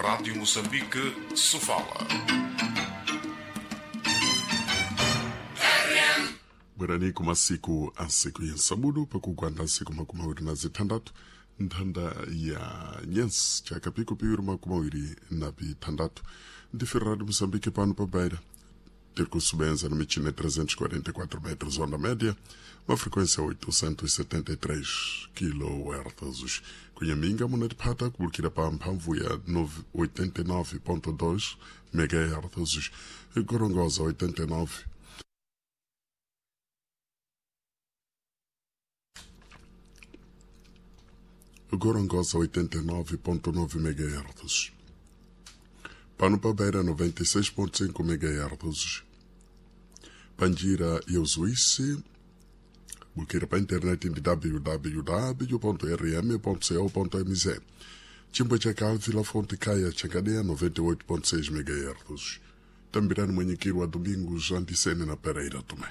Rádio Moçambique, Sofala. Bwerani kumasiku ansiku yensabudu pakugwanda nsiku 26 nthanda ya nyensi chaka piku piwiri 26 ndife Rádio Moçambique pano pa Beira tiri kusubenza na michina 344 metros onda média, uma frequência 873 kHz. Kunhaminga munatipata kubulukira pa mphamvu ya 89.2 MHz, Gorongosa 89 Gorongosa 89.9 MHz. Pano pa Beira 96.5 MHz. Panjira e Usuíce, busqueira para a internet em www.rm.co.mz. Chimbo cha Vila Fonte Caia, Chancadeia 98.6 MHz. Tambirano Manhiquiro a Domingos, Anticene na Pereira Tomé.